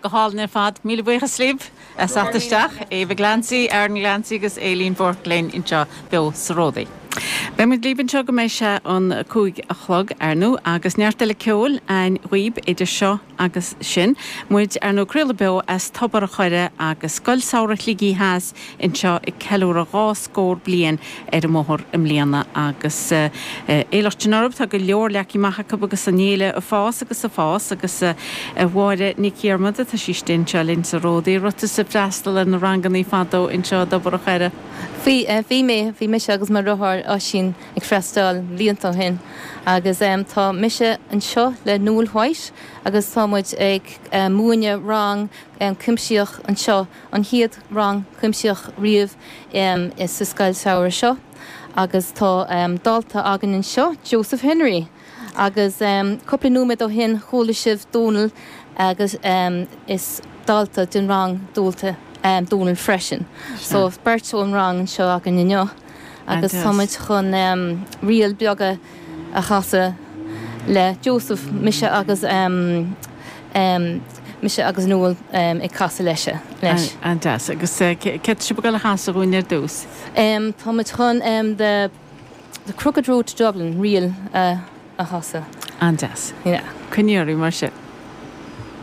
Go hálainn ar fad. Míle buíochas libh as theacht isteach. Eva Glancy, Aaron Glancy agus Aileen Bourke linn anseo beo sa Ródaí. Beidh muid libh anseo go mbeidh sé an 5 a chlog, ar ndóigh, agus neart eile ceoil a'inn dhaoib idir seo agus sin. Muid, ar ndóigh, ag craoladh beo as Tobar a' Choire agus Scoil Samhraidh Shligigh Theas anseo ag ceiliúradh dhá scór bliain ar an mbóthar i mbliana agus éileacht sin orthu. Tá go leor leagtha amach acu agus an fhéile ag fás agus ag fás agus a Mháire Nic Dhiarmada, tá sí istigh anseo linn sa Ródaí. Raibh tusa ag freastal ar na rangannaí fadó anseo i dTobar a' Choire? Bhí, bhí mé, bhí mise agus mo dheartháir Oisín ag freastal blianta ó shin agus tá mise anseo le Noel White agus tá muid ag múineadh rang cuimsitheach anseo, an chéad rang cuimsitheach riamh sa scoil samhraidh seo agus tá dalta againn anseo, Joseph Henry. Agus cúpla nóiméad ó shin chuala sibh Dónal agus is dalta den rang dólta Dónal freisin. So beirt ón rang anseo againn inniu agus tá muid chun ríl beaga a chasadh le Joseph, mise agus mise agus Noel ag casadh leis leis. An-deas. Agus céard tá sibh ag dul a chasadh dhúinn ar dtús? Tá muid chun the. The Crooked Road to Dublin, ríl a chasadh. An-deas. Yeah. Coinnigh oraibh mar sin.